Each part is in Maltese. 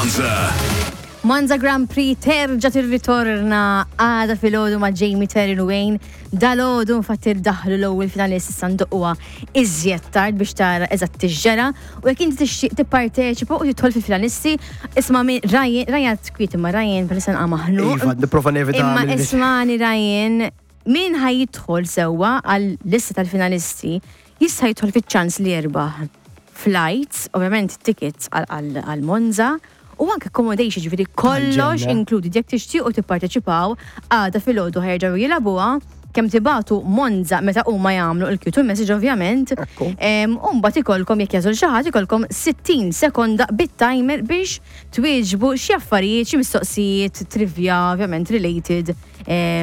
Monza. Monza Grand Prix terġa tirritorna għada filgħodu ma' Jamie Terry u Wayne. Dalgħodu infatti daħlu l-ewwel finalist issa ndoqquha iżjed tard biex tara eżatt x'ġara u jekk inti tixtieq tipparteċipa u tidħol fil-finalisti, isma' min Ryan, Ryan kwiet imma Ryan bħalissa nqa' maħnuq. Iva, nipprova nevita. Imma ismani Ryan, min ħa jidħol sewwa għal lista tal-finalisti jista' jidħol fiċ-ċans li jerbaħ flights, ovvjament tickets għal Monza, u anke accommodation ġifieri kollox included. Jekk tixtiequ tipparteċipaw, għada filgħodu ħa jerġgħu jilagħbuha, kemm tibagħtu Monza meta huma jagħmlu il-Q2 message ovvjament. U mbagħad ikollkom jekk jagħżel xi ħadd ikollkom 60 sekonda bit-timer biex twieġbu xi affarijiet, xi mistoqsijiet trivia ovvjament related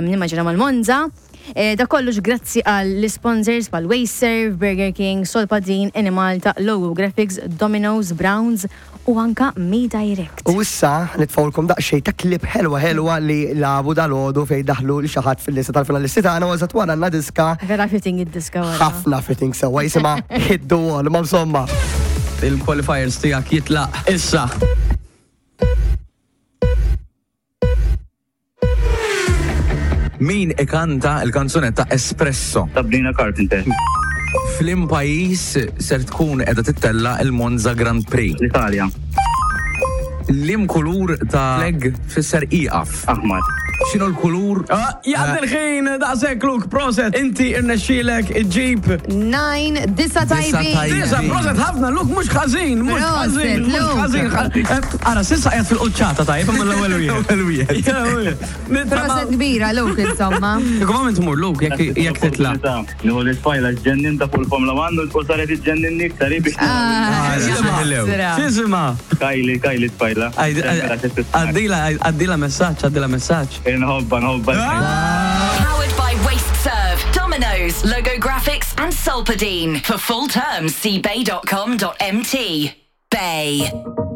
nimmaġina mal-Monza. Da kollox grazzi għall sponsors bħal Wasteserv, Burger King, Solpadin, Enemalta, Logo Graphics, Domino's, Browns u anka Me Direct. U issa nitfgħulkom daqsxejn ta' clip ħelwa ħelwa li lagħbu dalgħodu fejn daħlu lil xi ħadd fil-lista tal-finalisti tagħna u eżatt wara għandna diska. Vera fitting id-diska wara. Ħafna fitting sewwa jisimha Hit the Wall, ma insomma. Il-qualifiers tiegħek jitlaq issa. Min ikanta l-kanzunetta Espresso? Sabrina Carpenter. F'liem pajjiż ser tkun qiegħda tittella' l-Monza Grand Prix? L-Italja. Liem kulur ta' flag tfisser ieqaf? Aħmar. X'inhu l-kulur? Jgħaddi l-ħin daqshekk Luke, proset. Inti rnexxielek iġġib. 9, disa tajbin. Disa, proset ħafna Luke, mhux ħażin, mhux ħażin, mhux ħażin. Ara, s'issa qiegħed fil-quċċata tajjeb imma l-ewwel wieħed. L-ewwel wieħed. Proset kbira Luke insomma. Kieku ma' min tmur Luke jekk jekk titla'. Nieħu l-tfajla ġġennin ta' fuq il-Formula 1 u saret iġġenninni iktar hi biex X'jisimha? Kylie, Kylie tfajla. Għaddila għaddila messaġġ, għaddila messaġġ. Inħobbha, nħobbha. Powered by WasteServ, Domino's, Logo Graphics and Solpadeine. For full terms see bay.com.mt. Bay.